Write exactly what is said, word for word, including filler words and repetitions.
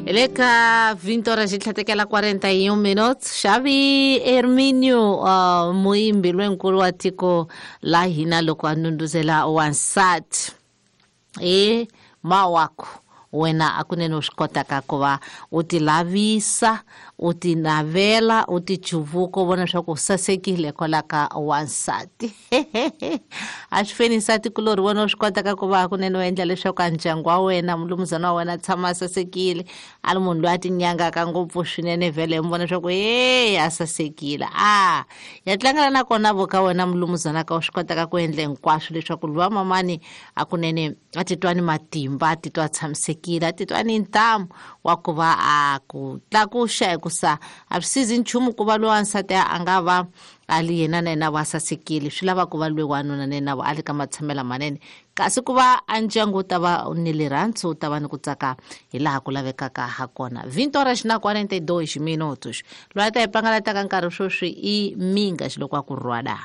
Le ka vinte horas xi tlhatekela quarenta e um minutos. Xavi Herminio, uh, muimbi lonkulu wa tiko la hina, loko a ndhundhuzela wansati e mawako wena a kunene u swi kotaka ku va u ti lavisa, u ti navela, u ti chuvuka, u vona leswaku u sasekile kwala ka wansati. A swi feni nsati kulorhi wena u swi kotaka ku va kunene u endla leswaku a ndyangu wa wena, mulumuzana wa wena, a tshama a sasekile, a ri munhu loyi a tinyangaka ngopfu swinene. Vhele mi vona leswaku e a sasekile, a ya tlangela na kona vo ka wena mulumuzana ka u swi kotaka ku endla hinkwaswo leswaku luwa mamani a kunene a titwa ni matimba, a titwa a tshamisekile, a titwa ni ntamu wa ku va a ku tlakuxa, hikusa a swi sizi nchumu ku va loyi wansati a nga va a li yena na yena va sasekile. Swi lava ku va loyi wanuna na yena a li ka matshamelo manene, kasi ku va a ndyangu wu ta va ni rirhandzu, wu ta va ni ku tsaka hi laha ku lavekaka ha kona. vinte horas na quarenta e dois minutos. Loyi a ta hi pangalataka nkarhi sweswi i Minga xiloko a ku rhwada.